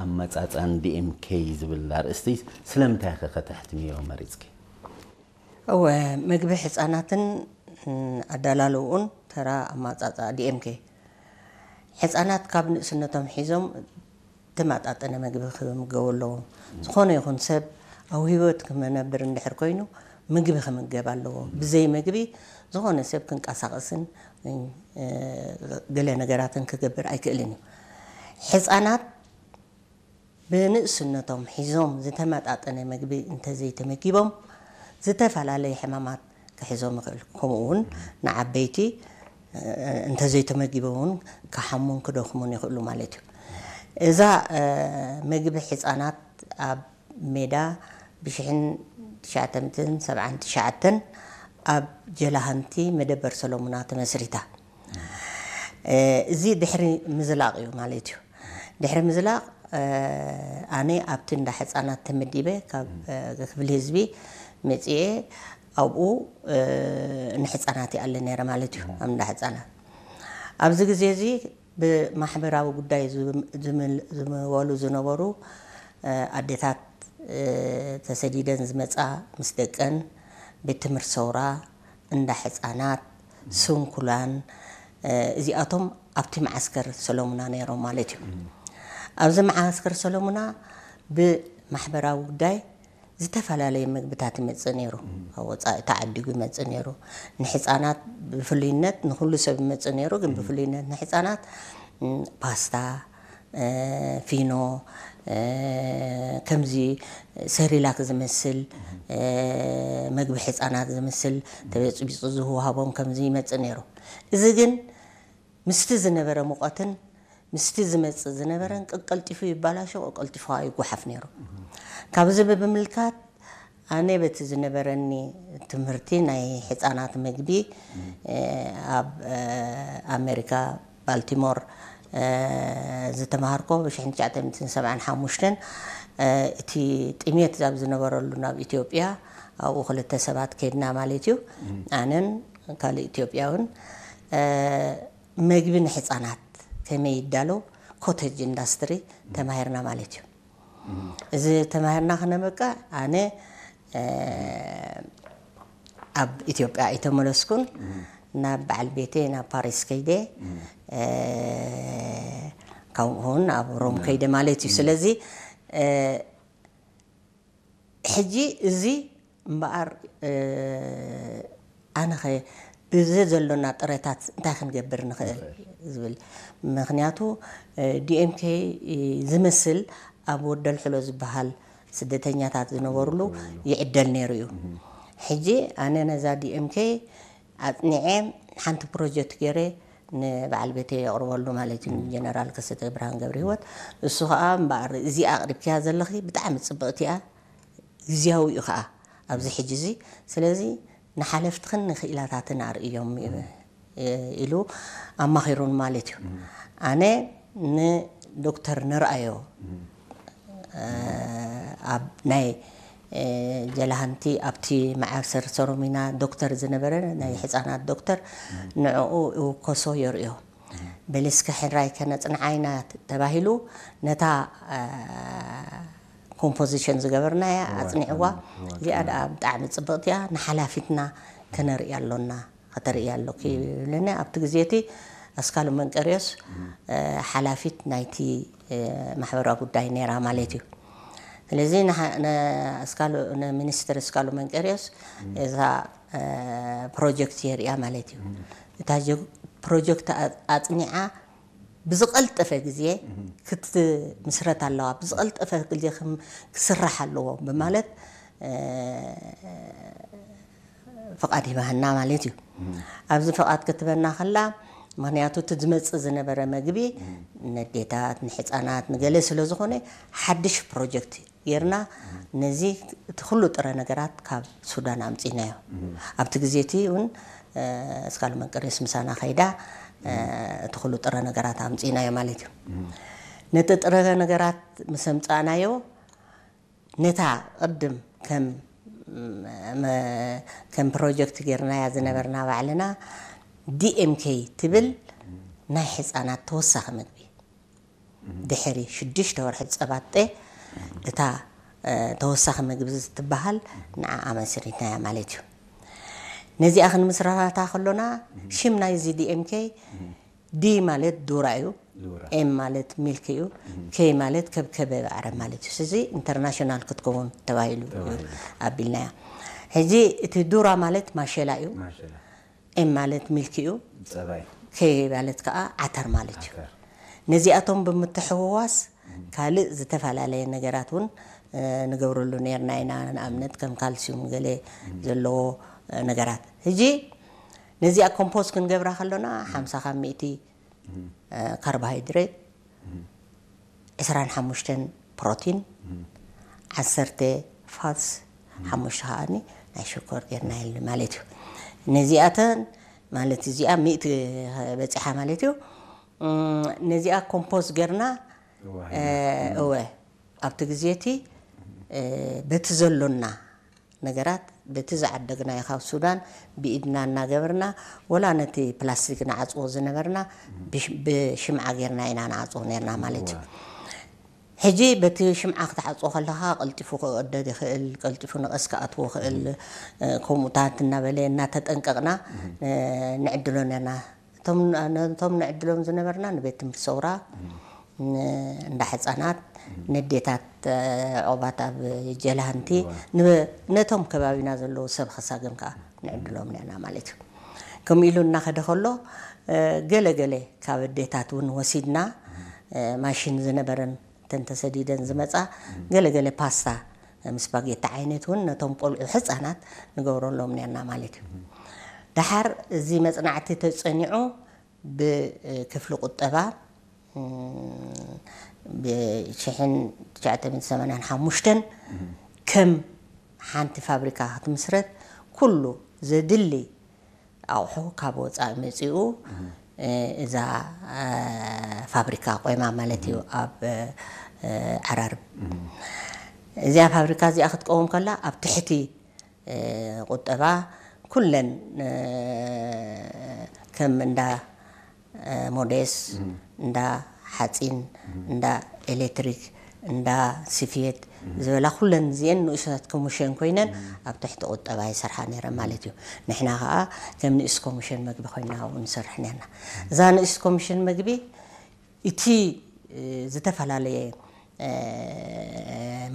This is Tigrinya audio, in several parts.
ኣመጻጽኣን ዲኤምኬ ዝብል ኣርእስቲ ስለምንታይ ኢኺ ከተሕትምዮ መሪጽኪ? እወ፣ መግቢ ህጻናትን ኣዳላልውኡን ተራ ኣማጻጻ ዲኤምኬ። ህጻናት ካብ ንእስነቶም ሒዞም ተመጣጠነ መግቢ ክምገቡ ኣለዎም። ዝኾነ ይኹን ሰብ ኣብ ህይወት ክመነብር እንድሕር ኮይኑ ምግቢ ክምገብ ኣለዎ። ብዘይ ምግቢ ዝኾነ ሰብ ክንቀሳቐስን ገለ ነገራትን ክገብር ኣይክእልን እዩ። ህጻናት ብንእስነቶም ሒዞም ዝተመጣጠነ መግቢ እንተዘይተመጊቦም ዝተፈላለየ ሕማማት ክሕዞም ይኽእል። ከምኡ እውን ንዓበይቲ እንተዘይተመጊቦም እውን ክሓሙን ክደኽሙን ይኽእሉ ማለት እዩ። እዛ መግቢ ህፃናት ኣብ ሜዳ ብሽሕን ትሽዓተ ሚእትን ሰብዓን ትሽዓተን ኣብ ጀላሃንቲ መደበር ሰሎሙና ተመስሪታ። እዚ ድሕሪ ምዝላቕ እዩ ማለት እዩ። ድሕሪ ምዝላቕ ኣነ ኣብቲ እንዳ ህፃናት ተመዲበ ካብ ክፍሊ ህዝቢ መፅኤ ኣብኡ ንህፃናት ይኣለ ነይረ ማለት እዩ። ኣብ እንዳ ህፃናት ኣብዚ ግዜ እዚ ብማሕበራዊ ጉዳይ ዝምወሉ ዝነበሩ ኣዴታት ተሰዲደን ዝመፃ ምስ ደቀን ቤት ትምህርቲ ሰውራ፣ እንዳ ህፃናት፣ ስንኩላን እዚኣቶም ኣብቲ መዓስከር ሰሎሙና ነይሮም ማለት እዩ። ኣብዚ መዓስከር ሰሎሙና ብማሕበራዊ ጉዳይ ዝተፈላለየ ምግብታት ይመፅእ ነይሩ። ካብ ወፃኢ ተዓዲጉ ይመፅእ ነይሩ። ንህፃናት ብፍሉይነት ንኩሉ ሰብ ይመፅእ ነይሩ፣ ግን ብፍሉይነት ንህፃናት ፓስታ፣ ፊኖ፣ ከምዚ ሰሪላክ ዝመስል መግቢ ህፃናት ዝመስል ተበፅቢፁ ዝወሃቦም ከምዚ ይመፅእ ነይሩ። እዚ ግን ምስቲ ዝነበረ ሙቐትን ምስቲ ዝመፅእ ዝነበረን ቀቀልጢፉ ይባላሾ፣ ቀቀልጢፉ ይጓሓፍ ነይሩ። ካብዚ ብምምልካት ኣነ በቲ ዝነበረኒ ትምህርቲ ናይ ህፃናት መግቢ ኣብ ኣሜሪካ ባልቲሞር ዝተማሃርኮ ብ ትሽዓተ ሚእትን ሰብዓን ሓሙሽተን እቲ ጥሜት ኣብ ዝነበረሉ ናብ ኢትዮጵያ ኣብኡ ክልተ ሰባት ከድና ማለት እዩ። ኣነን ካልእ ኢትዮጵያውን መግቢ ንህፃናት ከመይ ይዳለው ኮቴጅ ኢንዳስትሪ ተማሂርና ማለት እዩ። እዚ ተማሂርና ክነበቃ ኣነ ኣብ ኢትዮጵያ ኣይተመለስኩን። ናብ በዓል ቤተይ ናብ ፓሪስ ከይደ፣ ካብኡ እውን ኣብ ሮም ከይደ ማለት እዩ። ስለዚ ሕጂ እዚ እምበኣር ኣነኸ ብዚ ዘሎና ጥረታት እንታይ ክንገብር ንኽእል ዝብል። ምክንያቱ ዲኤምኬ ዝመስል ኣብ ወደልሕሎ ዝበሃል ስደተኛታት ዝነበሩሉ ይዕደል ነይሩ እዩ። ሕጂ ኣነ ነዛ ዲኤምኬ ኣፅኒዐ ሓንቲ ፕሮጀክት ገይረ ንበዓል ቤተይ የቕርበሉ ማለት እዩ፣ ንጀነራል ከሰተ ብርሃን ገብረ ህይወት። እሱ ከዓ እምበኣር እዚኣ ኣቕሪብክያ ዘለኺ ብጣዕሚ ፅብቕቲ እያ፣ ግዝያዊ እዩ ከዓ ኣብዚ ሕጂ እዚ። ስለዚ ንሓለፍትኽን ንክኢላታትን ኣርእዮም ኢሉ ኣማኺሩን ማለት እዩ። ኣነ ንዶክተር ንርኣዮ ኣብ ናይ ጀላሃንቲ ኣብቲ መዓሰር ሰሮሚና ዶክተር ዝነበረ ናይ ህፃናት ዶክተር ንዕኡ እውከሶ የርእዮ። በሊ እስከ ሕራይ ከነፅንዓ ኢና ተባሂሉ ነታ ኮምፖዚሽን ዝገበርናያ ኣፅኒዕዋ። እዚኣ ደኣ ብጣዕሚ ፅብቕቲ እያ፣ ንሓላፊትና ከነርኢ ኣሎና፣ ከተርኢ ኣሎኪ ይብለኒ። ኣብቲ ግዜ እቲ ኣስካሉ መንቀርዮስ ሓላፊት ናይቲ ማሕበራዊ ጉዳይ ነይራ ማለት እዩ። ስለዚ ንሚኒስትር ኣስካሉ መንቀርዮስ እዛ ፕሮጀክት የርእያ ማለት እዩ። እታ ፕሮጀክት ኣፅኒዓ ብዝቐልጠፈ ግዜ ክትምስረት ኣለዋ፣ ብዝቐልጠፈ ግዜ ክስራሕ ኣለዎ ብማለት ፍቓድ ሂባህና ማለት እዩ። ኣብዚ ፍቓድ ክትበና ከላ፣ ምክንያቱ እቲ ዝመፅእ ዝነበረ መግቢ ነዴታት፣ ንሕፃናት፣ ንገለ ስለ ዝኾነ ሓድሽ ፕሮጀክት ጌርና ነዚ እቲ ኩሉ ጥረ ነገራት ካብ ሱዳን ኣምፂናዮ። ኣብቲ ግዜ እቲ እውን ኣስካሉ መንቀርዮስ ምሳና ከይዳ እቲ ኩሉ ጥረ ነገራት ኣምፂናዮ ማለት እዩ። ነቲ ጥረ ነገራት ምስ ኣምፃእናዮ ነታ ቅድም ከም ከም ፕሮጀክት ጌርናያ ዝነበርና ባዕልና ዲኤምኬ ትብል ናይ ሕፃናት ተወሳኺ ምግቢ ድሕሪ ሽዱሽተ ወርሒ ጸባጠ እታ ተወሳኺ መግቢ ዝትበሃል ንዓኣ መስሪትናያ ማለት እዩ። ነዚኣ ክንምስራታ ከሎና ሽም ናይዚ ዲኤምኬ ዲ ማለት ዱራ እዩ። ኤም ማለት ሚልክ እዩ። ኬ ማለት ከብከበ ባዕረ ማለት እዩ። እዚ ኢንተርናሽናል ክትከውን ተባሂሉ እዩ ኣቢልናያ። ሕጂ እቲ ዱራ ማለት ማሸላ እዩ። ኤም ማለት ሚልክ እዩ። ኬ ማለት ከዓ ዓተር ማለት እዩ። ነዚኣቶም ብምትሕውዋስ ካልእ ዝተፈላለየ ነገራት እውን ንገብረሉ ነርና ኢና። ንኣብነት ከም ካልሲዩም ገለ ዘለዎ ነገራት። ሕጂ ነዚኣ ኮምፖዝ ክንገብራ ከሎና ሓምሳ ካብ ሚእቲ ካርቦሃይድሬት፣ ዕስራን ሓሙሽተን ፕሮቲን፣ ዓሰርተ ፋትስ፣ ሓሙሽተ ከኣኒ ናይ ሽኮር ጌርና የሉ ማለት እዩ። ነዚኣተን ማለት እዚኣ ሚእቲ በፂሓ ማለት እዩ። ነዚኣ ኮምፖዝ ጌርና እወ ኣብቲ ግዜ እቲ በቲ ዘሎና ነገራት በቲ ዝዓደግናዮ ካብ ሱዳን ብኢድና እናገበርና ወላ ነቲ ፕላስቲክ ንዓፅዎ ዝነበርና ብሽምዓ ጌርና ኢና ንዓፅዎ ነርና ማለት እዩ። ሕጂ በቲ ሽምዓ ክትዓፅዎ ከለካ ቀልጢፉ ክቕደድ ይኽእል፣ ቀልጢፉ ንቐስ ክኣትዎ ይኽእል። ከምኡታት እናበለ እናተጠንቀቕና ንዕድሎ ነርና። እቶም ነቶም ንዕድሎም ዝነበርና ንቤት ትምህርቲ ሰውራ እንዳ ሕፃናት ነዴታት ዕቑባት ኣብ ጀላሃንቲ ነቶም ከባቢና ዘለዉ ሰብ ከሳግም ከዓ ንዕድሎም ነርና ማለት እዩ። ከምኡ ኢሉ እናኸደ ከሎ ገለ ገለ ካብ ኣዴታት እውን ወሲድና ማሽን ዝነበረን እተን ተሰዲደን ዝመፃ ገለ ገለ ፓስታ ምስ ስፓጌቲ ዓይነት እውን ነቶም ቆልዑ ህፃናት ንገብረሎም ነርና ማለት እዩ። ደሓር እዚ መፅናዕቲ ተፀኒዑ ብክፍሊ ቁጠባ ብሽሕን ትሽዓተ ሚእትን ሰማንያን ሓሙሽተን ከም ሓንቲ ፋብሪካ ክትምስረት ኩሉ ዘድሊ ኣቑሑ ካብ ወፃኢ መፂኡ እዛ ፋብሪካ ቆይማ ማለት እዩ ኣብ ዓራርብ። እዚኣ ፋብሪካ እዚኣ ክትቀውም ከላ ኣብ ትሕቲ ቁጠባ ኩለን ከም እንዳ ሞዴስ፣ እንዳ ሓፂን፣ እንዳ ኤሌክትሪክ፣ እንዳ ስፌት ዝበላ ኩለን እዚአን ንኡሳት ኮሚሽን ኮይነን ኣብ ትሕቲ ቁጠባ ይሰርሓ ነይረን ማለት እዩ። ንሕና ከዓ ከም ንኡስ ኮሚሽን መግቢ ኮይና ኣብኡ ንሰርሕ ነርና። እዛ ንኡስ ኮሚሽን መግቢ እቲ ዝተፈላለየ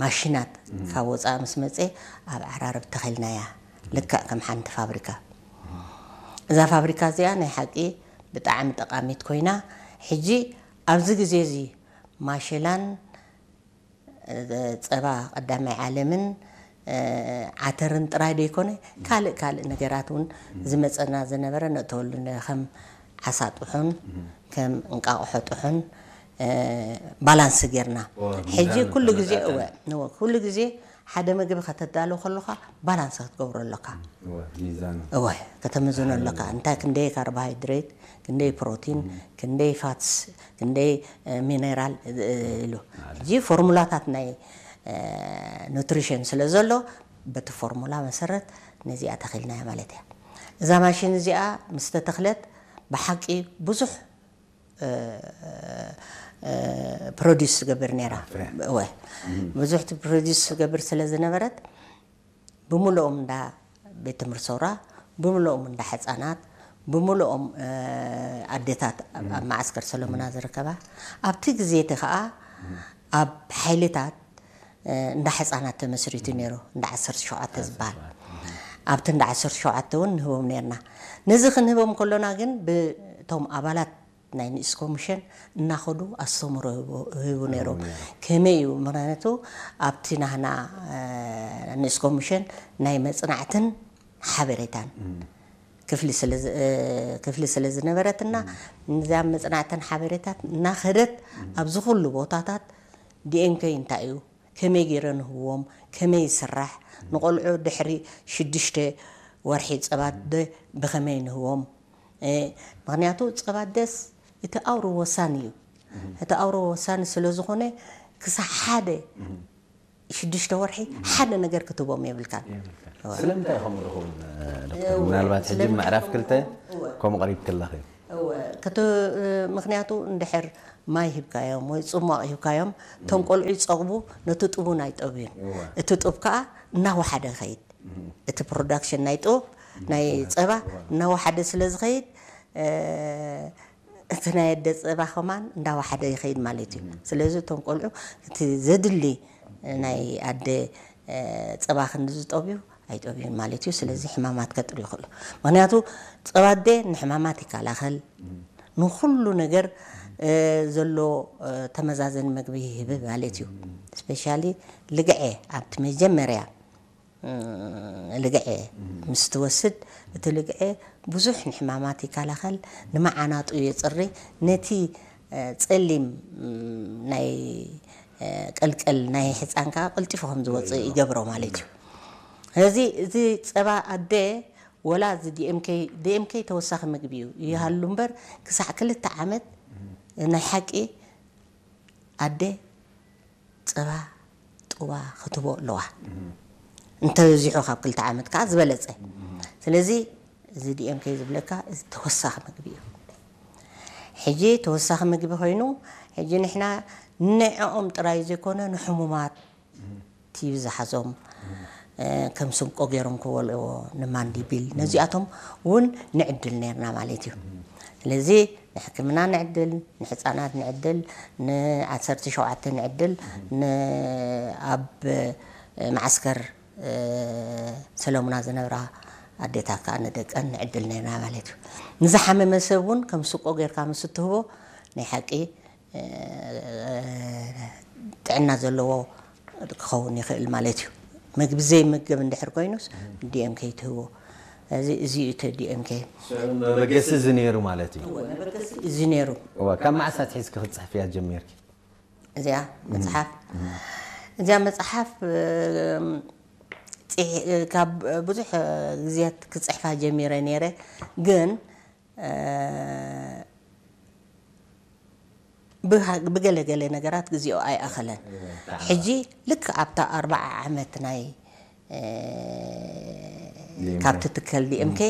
ማሽናት ካብ ወፃኢ ምስ መፀ ኣብ ዓራርብ ተኺልናያ ልክዕ ከም ሓንቲ ፋብሪካ። እዛ ፋብሪካ እዚኣ ናይ ሓቂ ብጣዕሚ ጠቃሚት ኮይና ሕጂ ኣብዚ ግዜ እዚ ማሸላን ጸባ ቀዳማይ ዓለምን ዓተርን ጥራይ ዘይኮነ ካልእ ካልእ ነገራት እውን ዝመፀና ዝነበረ ነእተወሉ ከም ዓሳ ጥሑን ከም እንቃቑሖ ጥሑን ባላንስ ጌርና ሕጂ ኩሉ ግዜ እወ ኩሉ ግዜ ሓደ ምግቢ ከተዳሉ ከለካ ባላንስ ክትገብሮ ኣለካ። እወ ከተምዝኖ ኣለካ። እንታይ ክንደይ ካርቦሃይድሬት፣ ክንደይ ፕሮቲን፣ ክንደይ ፋትስ፣ ክንደይ ሚነራል ኢሉ ሕጂ ፎርሙላታት ናይ ኑትሪሽን ስለ ዘሎ በቲ ፎርሙላ መሰረት ነዚኣ ተኺልናያ ማለት እያ። እዛ ማሽን እዚኣ ምስ ተተኽለት ብሓቂ ብዙሕ ፕሮዲስ ትገብር ነይራ። እወ ብዙሕ ፕሮዲስ ትገብር ስለ ዝነበረት ብምልኦም እንዳ ቤት ትምህርቲ ሰውራ ብምልኦም እንዳ ሕፃናት ብምልኦም ኣዴታት ኣብ መዓስከር ሰሎሙና ዝርከባ ኣብቲ ግዜ እቲ ከዓ ኣብ ሓይልታት እንዳ ሕፃናት ተመስሪቱ ነይሩ። እንዳ ዓሰርተ ሸውዓተ ዝበሃል ኣብቲ እንዳ ዓሰርተ ሸውዓተ እውን ንህቦም ነርና። ነዚ ክንህቦም ከሎና ግን ብቶም ኣባላት ናይ ንእስ ኮሚሽን እናኸዱ ኣስተምሮ ይህቡ ነይሮም። ከመይ እዩ? ምክንያቱ ኣብቲ ናህና ንእስ ኮሚሽን ናይ መፅናዕትን ሓበሬታን ክፍሊ ስለ ዝነበረትና እዛ መፅናዕትን ሓበሬታት እናኸደት ኣብዚ ኩሉ ቦታታት ዲኤምኬ እንታይ እዩ፣ ከመይ ገይረ ንህቦም፣ ከመይ ይስራሕ፣ ንቆልዑ ድሕሪ ሽዱሽተ ወርሒ ፀባት ዶ ብኸመይ ንህቦም፣ ምክንያቱ ፀባ ኣደስ እቲ ኣውሮ ወሳኒ እዩ። እቲ ኣውሮ ወሳኒ ስለ ዝኾነ ክሳብ ሓደ ሽዱሽተ ወርሒ ሓደ ነገር ክትህቦም የብልካን። ስለምንታይ ከምኡ ዝኸውን ዶክተር? ምናልባት ሕጂ ምዕራፍ ክልተ ከምኡ ቀሪብ ክለኽ እዩ። እወ፣ ክት-፣ ምኽንያቱ እንድሕር ማይ ሂብካዮም ወይ ጽሟቕ ሂብካዮም፣ እቶም ቆልዑ ይጸግቡ፣ ነቲ ጡብ እውን ኣይጠብዩን። እወ። እቲ ጡብ ከኣ እናወሓደ ይኸይድ። እቲ ፕሮዳክሽን ናይ ጡብ፣ ናይ ጸባ እናወሓደ ስለ ዝኸይድ፣ እ፣ እቲ ናይ ኣደ ጸባ ከማን እንዳወሓደ ይኸይድ ማለት እዩ። ስለዚ እቶም ቆልዑ እቲ ዘድሊ ናይ ኣደ፣ እ፣ ጸባ ክንዲ ዝጠብዩ ኣይጠብዩን ማለት እዩ። ስለዚ ሕማማት ከጥርዩ ይኽእሉ። ምኽንያቱ ጸባ ኣደ ንሕማማት ይከላኸል፣ ንኹሉ ነገር፣ እ፣ ዘሎ፣ እ፣ ተመዛዘኒ መግቢ ይህብ ማለት እዩ። ስፔሻሊ ልግዐ ኣብቲ መጀመርያ፣ እ፣ ልግዐ ምስ ትወስድ፣ እቲ ልግዐ ብዙሕ ንሕማማት ይከላኸል፣ ንመዓናጡ የጽሪ፣ ነቲ፣ እ፣ ጸሊም፣ እ፣ ናይ፣ እ፣ ቀልቀል ናይ ሕጻን ከኣ ቀልጢፉ ከም ዝወጽእ ይገብሮ ማለት እዩ። ስለዚ እዚ ጸባ ኣደ ወላ እዚ ዲ ኤም ኬ፣ ዲ ኤም ኬ ተወሳኺ ምግቢ እዩ ይሃሉ እምበር፣ ክሳዕ ክልተ ዓመት ናይ ሓቂ ኣደ ጸባ ጡባ ክትቦ ኣለዋ። እንተበዚሑ ካብ ክልተ ዓመት ከኣ ዝበለጸ። ስለዚ እዚ ዲ ኤም ኬ ዝብለካ እዚ ተወሳኺ ምግቢ እዩ። ሕጂ ተወሳኺ ምግቢ ኮይኑ፣ ሕጂ ንሕና ንዕኦም ጥራይ ዘይኮነ ንሕሙማት፣ ቲቪ ዝሓዞም፣ እ፣ ከም ስንቆ ገይሮም ክበልዕዎ፣ ንማንዲቢል፣ ነዚኣቶም እውን ንዕድል ነርና ማለት እዩ። ስለዚ ንሕክምና ንዕድል፣ ንሕፃናት ንዕድል፣ ንዓሰርተ ሸውዓተ ንዕድል፣ ን-፣ ኣብ፣ እ፣ መዓስከር፣ እ፣ ሰለሙና ዝነብራ ኣዴታት ከዓ ንደቀን ንዕድል ነርና ማለት እዩ። ንዝሓመመ ሰብ እውን ከም ስቆ ጌርካ ምስ እትህቦ ናይ ሓቂ፣ እ፣ ጥዕና ዘለዎ ክኸውን ይኽእል ማለት እዩ። ምግቢ ዘይምገብ እንድሕር ኮይኑስ ዲ ኤም ኬ ትህቦ። እዚ፣ እዚ እዩ እቲ ዲ ኤም ኬ። ሽዑ መበገሲ እዚ ነይሩ ማለት እዩ። እወ፣ መበገሲ እዚ ነይሩ። እወ፣ ካብ መዓስ ኣትሒዝኪ ክትጽሕፍያ ጀሚርኪ? እዚኣ መጽሓፍ፣ እዚኣ መጽሓፍ፣ እ፣ ጽሒ-፣ ካብ ብዙሕ ግዜያት ክጽሕፋ ጀሚረ ነይረ፣ ግን፣ እ፣ ብሃ-፣ ብገለ ገለ ነገራት ግዜኡ ኣይኣኸለን። ሕጂ ልክ ኣብታ ኣርብዓ ዓመት ናይ፣ እ፣ ዲ ኤም ኬ። ካብቲ ትከል ዲ ኤም ኬ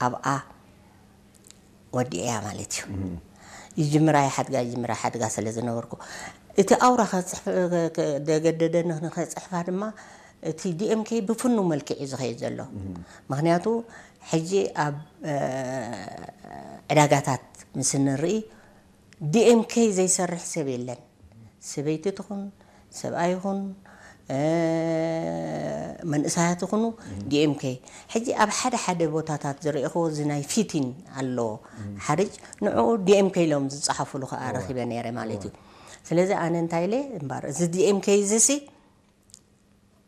ኣብኣ ወዲእያ ማለት እዩ። ይጅምራ ይሓድጋ፣ ይጅምራ ይሓድጋ ስለ ዝነበርኩ፣ እቲ ኣውራ ከጽሕፍ-፣ ከ-፣ ከ-፣ ደገደደኒ ንኸጽሕፋ ድማ፣ እቲ ዲ ኤም ኬ ብፍኑ መልክዕ እዩ ዝኸይድ ዘሎ። ምኽንያቱ፣ ሕጂ ኣብ፣ እ፣ ዕዳጋታት ምስ እንርኢ፣ ዲ ኤም ኬ ዘይሰርሕ ሰብ የለን። ሰበይቲ ትኹን፣ ሰብኣይ ይኹን፣ እ፣ መንእሰያት ይኹኑ፣ ዲ ኤም ኬ። ሕጂ ኣብ ሓደ ሓደ ቦታታት ዝረእኽዎ እዚ ናይ ፊቲን ኣሎ። ሓርጭ ንዕኡ ዲ ኤም ኬ ኢሎም ዝጸሓፉሉ ከኣ ረኺበ ነይረ ማለት እዩ። ስለዚ ኣነ እንታይ ኢለ እምበር፣ እዚ ዲ ኤም ኬ እዚ ሲ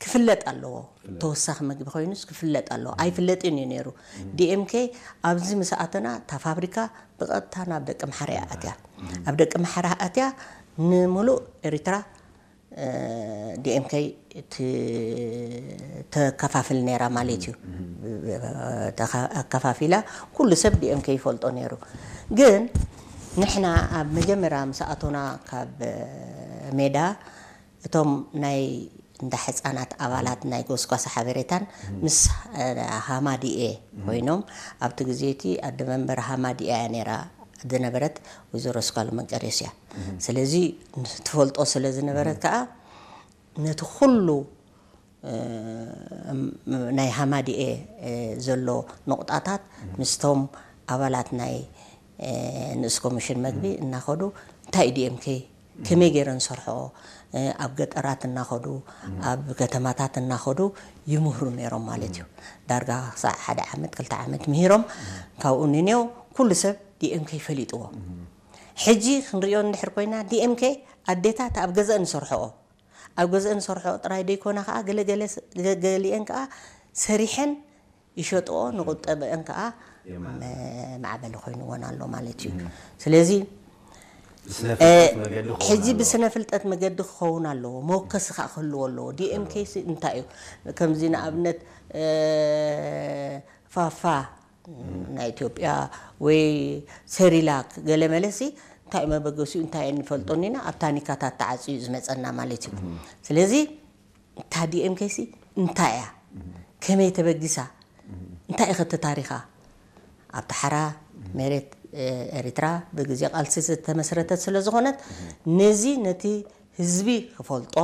ክፍለጥ ኣለዎ። ተወሳኺ ምግቢ ኮይኑስ ክፍለጥ ኣለዎ። ኣይፍለጥን እዩ ነይሩ። ዲ ኤም ኬ ኣብዚ ምስ ኣተና እታ ፋብሪካ ብቐጥታ ናብ ደቂ ምሓረ እያ ኣትያ። ኣብ ደቂ ምሓረ ኣትያ ንምሉእ ኤሪትራ፣ እ፣ ዲ ኤም ኬ ት-፣ ተከፋፍል ነይራ ማለት እዩ። ተኸ-፣ ኣከፋፊላ ኩሉ ሰብ ዲ ኤም ኬ ይፈልጦ ነይሩ። ግን ንሕና ኣብ መጀመርያ ምስ ኣቶና ካብ ሜዳ፣ እቶም ናይ እንዳ ሕጻናት ኣባላት ናይ ጎስጓስ ሓበሬታን ምስ፣ እ፣ ሃማዲኤ ኮይኖም፣ ኣብቲ ግዜ እቲ ኣደ መንበር ሃማዲኤ እያ ነይራ ዝነበረት፣ ወይዘሮ ስካሉ መንቀርዮስ እያ። ስለዚ ትፈልጦ ስለ ዝነበረት ከኣ ነቲ ኩሉ፣ እ፣ ናይ ሃማዲኤ፣ እ፣ ዘሎ ነቑጣታት ምስቶም ኣባላት ናይ፣ እ፣ ንእስ ኮሚሽን መግቢ እናኸዱ እንታይ እዩ ዲ ኤም ኬ፣ ከመይ ገይረን ዝሰርሕኦ፣ እ፣ ኣብ ገጠራት እናኸዱ፣ ኣብ ከተማታት እናኸዱ ይምህሩ ነይሮም ማለት እዩ። ዳርጋ ክሳዕ ሓደ ዓመት፣ ክልተ ዓመት ምሂሮም፣ ካብኡ ንኔው ኩሉ ሰብ ዲ ኤም ኬ ፈሊጥዎ። ሕጂ ክንሪኦ እንድሕር ኮይና፣ ዲ ኤም ኬ ኣዴታት ኣብ ገዘአን ዝሰርሕኦ፣ ኣብ ገዘአን ዝሰርሕኦ ጥራይ ደይኮና ከኣ፣ ገለ ገለ ስ-፣ ገ-፣ ገሊአን ከኣ ሰሪሐን ይሸጥኦ፣ ንቁጠበአን ከኣ የማዕብላ። መ-፣ ማዕበሊ ኮይንወን ኣሎ ማለት እዩ። ስለዚ፣ ብስነ እ፣ ፍልጠት መገዲ ክኸውን ሕጂ ኣለዎ። ብስነ ፍልጠት መገዲ ክኸውን ኣለዎ፣ መወከሲ ከኣ ክህልዎ ኣለዎ። ዲ ኤም ኬ ሲ እንታይ እዩ? ከምዚ ንኣብነት፣ እ፣ ፋፋ ናይ ኢትዮጵያ ወይ ሰሪላክ ገለ መለሲ እንታይ መበገሲኡ እንታይ እንፈልጦን ኢና፣ ኣብ ታኒካታት ተዓጽዩ ዝመጸና ማለት እዩ። ስለዚ እታ ዲ ኤም ኬ ሲ እንታይ እያ? ከመይ ተበጊሳ? እንታይ እዩ እቲ ታሪኻ? ኣብቲ ሓራ መሬት ኤርትራ ብግዜ ቃልሲ ዝተመስረተት ስለ ዝኾነት፣ ነዚ ነቲ ህዝቢ ክፈልጦ፣